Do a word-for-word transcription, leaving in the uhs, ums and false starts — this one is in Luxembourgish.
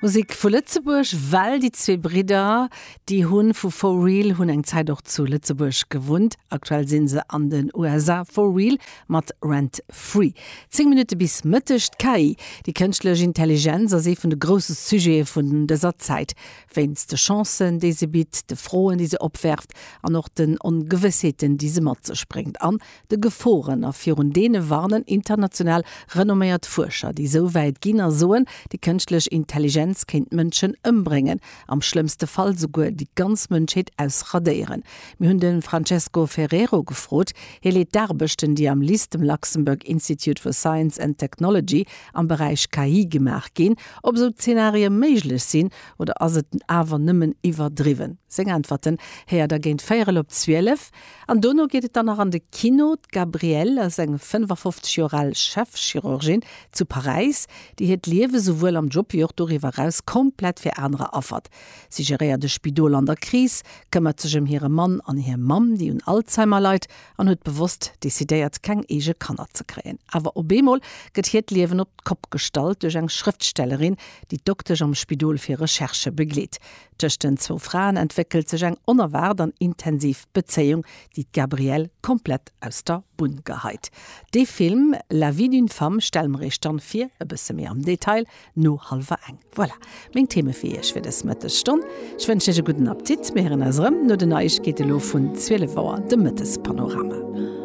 Musek vu Lëtzebuerg, well déi zwee Bridder, déi hunn vu For Real hunn eng Zäit och zu Lëtzebuerg gewunnt. Aktuell sinn se an den USA For Real mat Rent Free. Zéng Minutte bis Mëtteg. D'KI, déi kënschtlech Intelligenz, ass ee vun de grousse Sujete vun dëser Zäit. Wéinst de Chancen, déi se bitt, de Froen, déi se opwerft an och den Ongewëssheeten, déi se mat sech bréngt. An de Geforen. A virun deene warnen international renomméiert Fuerscher, déi esou wäit ginn a soen, déi kënschtlech Intelligenz kéint d'Mënschen ëmbréngen, am schlëmmste Fall souguer déi ganz Mënschheet ausradéieren. Mir hunn de Francesco Ferrero gefrot, hie leet d'Aarbechten, déi am LIST, dem Luxembourg Institute for Science and Technology, am Beräich KI gemaach ginn, ob esou Zenarie méiglech sinn oder ass et awer nëmmen iwwerdriwwen? Seng Äntwerten héiert der géint véierel op zwielef. An dono geet et dann nach an de Kino. D'Gabrielle ass eng fënnefafofzeg Joer al Chefchirurgin zu Paräis, déi hiert Liewe souwuel am Job wéi och doriwwer eraus komplett fir anerer affert. Si geréiert e Spidol an der Kris, këmmert sech ëm hire Mann an hir Mamm, déi un Alzheimer leit, an huet bewosst decidéiert, keng eege Kanner ze kréien. Awer op eemol gëtt hiert Liewen op d'Kopp gestallt duerch eng Schrëftstellerin, déi d'Doktesch am Spidol fir Recherchë begleet. Tëscht den zwou Fraen entwéckelt sech eng onerwaart an intensiv Bezéiung, déi d'Gabrielle komplett aus der Bunn geheit. Dee Film La vie d'une femme stelle mer iech dann vir, e bësse méi am Detail, no hallwer eng. Voilà, meng Theme fir iech fir dës Mëttesstonn. Ech wënschen iech e gudden Appetit. Mir héieren eis erëm no den Neiegkeete lo vun zwielef Auer, de Mëttespanorama.